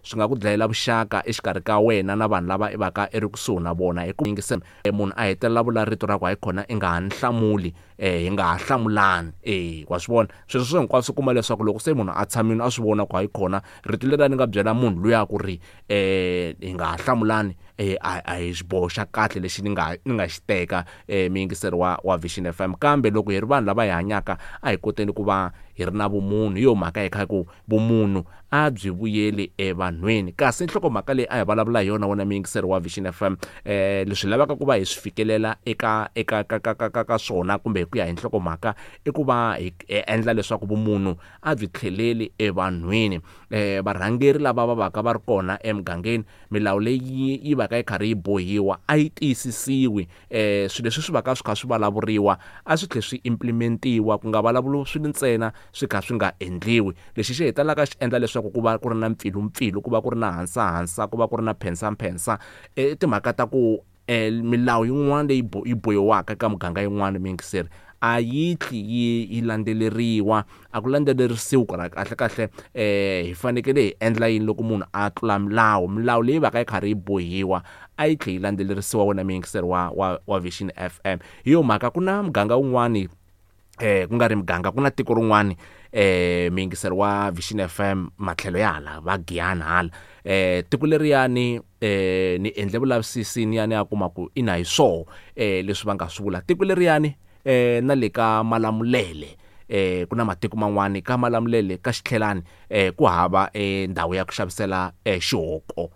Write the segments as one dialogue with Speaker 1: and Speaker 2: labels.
Speaker 1: Swi nga ku dlayela vuxaka exikarhi ka wena na vanhu lava i va ka i ri kusuhi na vona hi ku yingisela munhu a hetelela vula rito ra ku hayi khona i nga ha ni hlamuli hi nga ha hlamulani e wa swi vona sweswo swi hinkwaswo kuma leswaku loko se munhu a tshamile a swi vona ku hayi khona rito leri a ni nga byela munhu luya ku ri hi nga ha hlamulani a hi xiboho xa kahle lexi ni nga ni nga xi teka muyingiseri wa Vision FM kambe loko hi ri vanhu lava hi hanyaka a hi koteni ku va hi ri na vumunhu hi yo mhaka hi kha ku vumunhu a byi vuyeli evanhwini kasi nhlokomhaka leyi a hi vulavula hi yona wena muyingiseri wa Vision FM leswi lavaka ku va hi swi fikelela eka eka ka ka ka ka ka swona kumbe hi ku ya hi nhlokomhaka i ku va hi endla leswaku vumunhu a byi tlheleli evanhwini varhangeri lava va vaka va ri kona emugangeni milawu leyi yi va ka yi karhi yi bohiwa a yi tiyisisiwi swilo leswi swi va ka swi kha swi vulavuriwa a swi tlhe swi implementiwa ku nga vulavuriwi swilo ntsena swi kha swi nga endliwi lexi xi hetelelaka xi endla leswaku ku va ku ri na mpfilumpfilu ku va ku ri na hansahansa ku va ku ri na phensamphensa i timhaka ta ku milawu yin'wana leyi yi bohiwaka eka muganga yin'wana muyingiseri a yi tli yi yi landzeleriwa a ku landzelerisiwi ku kahle kahle hi fanekele hi endla yini loko munhu a tlula milawu milawu leyi va ka yi karhi yi bohiwa a yi tlhe yi landzelerisiwa wena muyingiseri wa Vision FM hi yo mhaka ku na muganga wun'wani ku nga ri muganga ku na tiko rin'wani muyingiseri wa Vision FM matlhelo ya hala va Giyani hala tiko leriyani ni endle vulavisisi ni ya ni ya kuma ku ina hi swoho leswi va nga swi vula tiko leriyani na le ka Malamulele ku na matiko man'wani ka Malamulele ka Xitlhelani ku hava ndhawu ya ku xavisela xihoko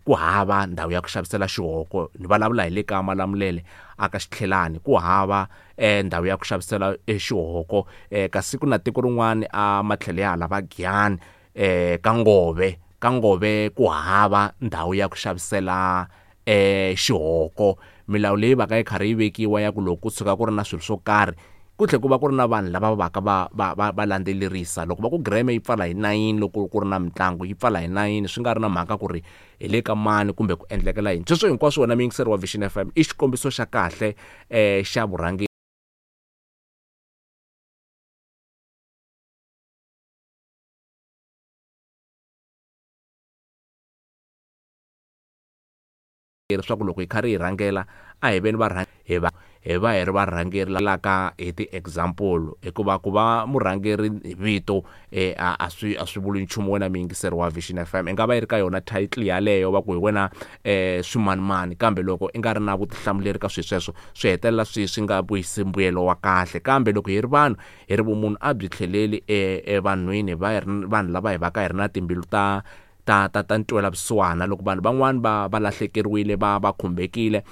Speaker 1: ku hava ndhawu ya ku xavisela xihoko ni vulavula hi le ka Malamulele a ka Xitlhelani ku hava ndhawu ya ku xavisela xihoko kasi ku na tiko rin'wani a matlhelo ya hala va Giyani ka Ngove ka Ngove ku hava ndhawu ya ku xavisela xihoko milawu leyi va ka yi karhi yi vekiwa ya ku loko ku tshuka ku ri na swilo swo karhi ku tlhela ku va ku ri na vanhu lava va ka va va va va landzelerisa loko va ku gireme yi pfala hi 9 loko ku ri na mitlangu yi pfala hi 9 swi nga ri na mhaka ku ri hi le ka mani kumbe ku endlekela yini sweswo hinkwaswo wena muyingiseri wa Vision FM i xikombiso xa kahle xa vurhangeri leswaku loko hi karhi hi rhangela a hi veni va hi va hi va hi ri varhangeri laka hi ti-example hikuva ku va murhangeri hi vito a swi a swi vuli nchumu wena muyingiseri wa Vision FM i nga va yi ri ka yona title yaleyo va ku hi wena swimanimani kambe loko i nga ri na vutihlamuleri ka swilo sweswo swi hetelela swi swi nga vuyisi mbuyelo wa kahle kambe loko hi ri vanhu hi ri vumunhu a byi tlheleli evanhwini va hi ri vanhu lava hi va ka hi ri na timbilu ta ta ta ta ntwela vusiwana loko vanhu van'wani va va lahlekeriwile va va khumbekile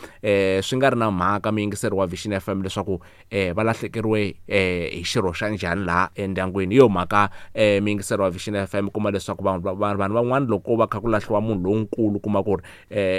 Speaker 1: swi nga ri na mhaka muyingiseri wa Vision FM leswaku va lahlekeriwe hi xirho xa njhani laha endyangwini hi yo mhaka muyingiseri wa Vision FM kuma leswaku vanhu vanhu van'wani loko va kha ku lahliwa munhu lonkulu kuma ku ri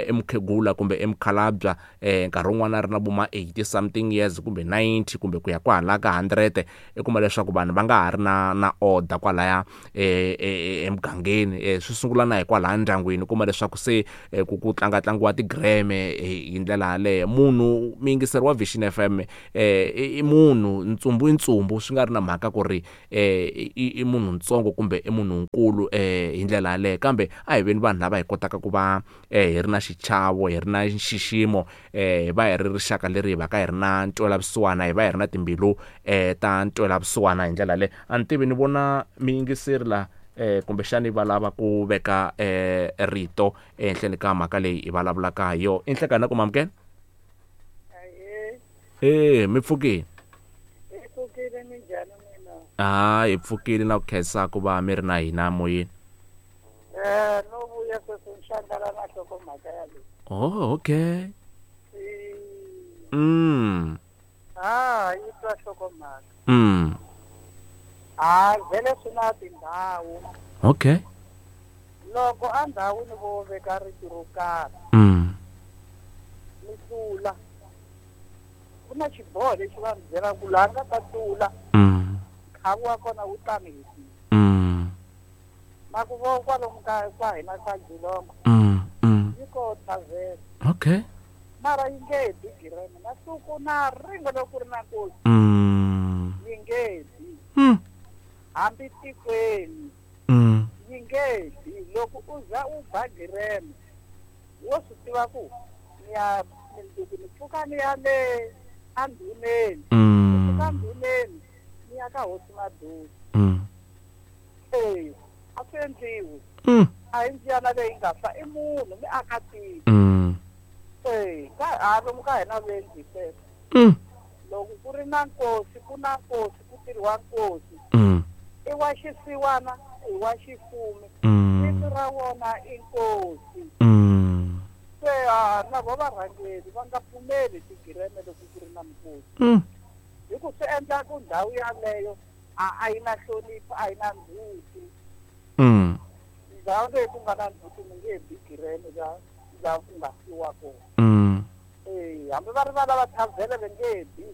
Speaker 1: i mukhegula kumbe i mukhalabya nkarhi wun'wani a ri na vo ma 80 something years kumbe 90 kumbe ku ya kwahala ka 100 i kuma leswaku vanhu va nga ha ri na na order kwalaya emugangeni swi sungula na hi kwalaya ndyangwini u kuma leswaku se ku ku tlanga tlangiwa tigireme hi ndlela yaleyo munhu muyingiseri wa Vision FM i munhu ntsumbu i ntsumbu swi nga ri na mhaka ku ri i munhu ntsongo kumbe i munhu nkulu hi ndlela yaleyo kambe a hi veni vanhu lava hi kotaka ku va hi ri na xichavo hi ri na nxiximo hi va hi ri rixaka leri hi va ka hi ri na ntwelavusiwana hi va hi ri na timbilu ta ntwelavusiwana hi ndlela leyi a ni tivi ni vona miyingiseri la kumbexani va lava ku veka rito ehenhleni ka mhaka leyi hi vulavulaka hi yona i nhlekani na ku mamukela e mi pfukile ha hi pfukile na ku khensa ku va mi ri na hina moyeni
Speaker 2: No vuya sweswi ni hlangana na nhlokomhaka ya leyi.
Speaker 1: Oh, okay.
Speaker 2: Ha yi twa nhlokomhaka. Ha vhele swi na tindhawu.
Speaker 1: Okay.
Speaker 2: Loko endhawini vo veka rito ro karhi. Mi tlula. Ku na xiboho lexi va mi byelaka ku laha nga ta tlula. Nkhavu wa kona wu tani hi kwihi. Na ku vo kwalomu ka kwa hina ka Jilongo. Yi ko thavhele.
Speaker 1: Okay.
Speaker 2: Mara yi nge bi gireme na siku na rin'we loko ku ri na nkosi. Yi nge bi. Hambi tikweni. Yi nge bi. Loko u za u ba gireme wo swi tiva ku ni ya mundzuku ni pfuka ni ya le andhuneni. Pfuka ndhuneni ni ya ka hosi Madusi. Ee, a swi endliwi. A hi ndziyana leyi nga fa i munhu mi aka tiko. Ee, ka ha lomu ka hina vendli sweswo. Loko ku ri na nkosi ku na nkosi ku tirhiwa nkosi. I wa xisiwana i wa xifumi. Vito ra wona i nkosi. Se na vo varhangeri va nga pfumeli tigireme loko ku ri na minkosi. Hi ku swi endla ku ndhawu yaleyo a yi na nhlonipho a yi na ndzhuti. Ndhawu leyi ku nga na ndzhuti mi nge bi gireme la ku nga fiwa kona. Ee, hambi va ri va lava thavhele va nge bi.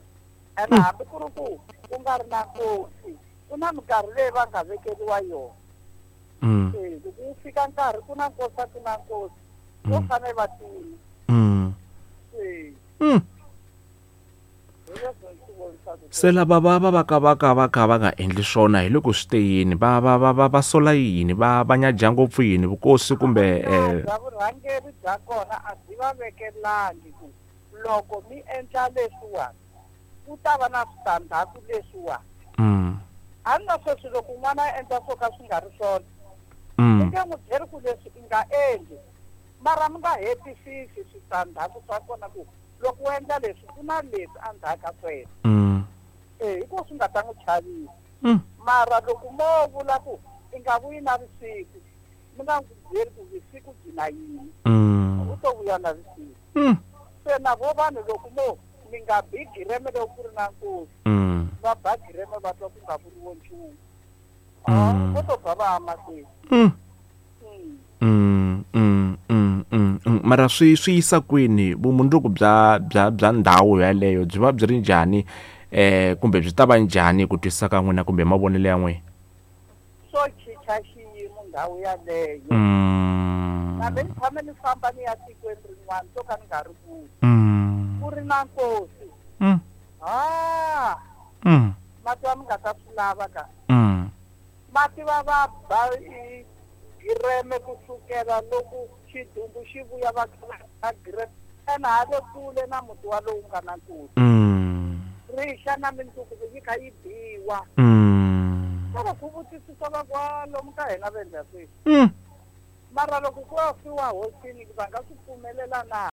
Speaker 2: Ene hambi ku ri ku ku nga ri na nkosi ku na minkarhi leyi va nga vekeriwa yona. Ee, loko wu fika nkarhi ku na nkosi a ku na nkosi vo fanele va tima. Ee.
Speaker 1: Se lava va va va ka va ka va ka va nga endli swona hi loko swi te yini va va va va va sola yini va va nyaja ngopfu yini vukosi kumbe
Speaker 2: bya vurhangeri bya kona a byi va vekelangi ku loko mi endla leswiwani ku ta va na switandzhaku leswiwani. A ni na sweswi loko n'wana a endla swo ka swi nga ri swona mi nge n'wi byeri ku leswi i nga endli mara mi nga hetisisi switandzhaku swa kona ku loko u endla leswi ku na leswi endzhaku ka sweswo. Ee, hikuva swi nga ta n'wi chavisa. Mara loko mo vula ku i nga vuyi na vusiku mi nga n'wi byeri ku vusiku byi na yini u to vuya na vusiku. Se na vo vanhu loko mo mi nga bi gireme loko ku ri na nkosi va ba gireme va twa ku nga vuriwo nchumu. Vo to ba va ya mahlweni.
Speaker 1: Mara swi yisa kwini vumundzuku bya bya bya ndhawu yaleyo byi va byi ri njhani kumbe byi ta va njhani ku twisisa ka n'wina kumbe mavonelo ya n'wina?
Speaker 2: Swo chicha xiyimo ndhawu yaleyo. Kambe ni tshame ni famba ni ya tikweni rin'wana to ka ni nga ri kule. Ku ri na nkosi. Mati va mi nga ta swi lava ka. Mati va va ba gireme kusukela loko xidumbu xi vuya va va gireme ene ha le kule na muti wa lowu nga na nkosi. Rixa na mindzuku yi kha yi biwa. Loko ku vutisisa va ku lomu ka hina va endla sweswi. Mara loko ku ya fiwa hosini va nga swi pfumelela na?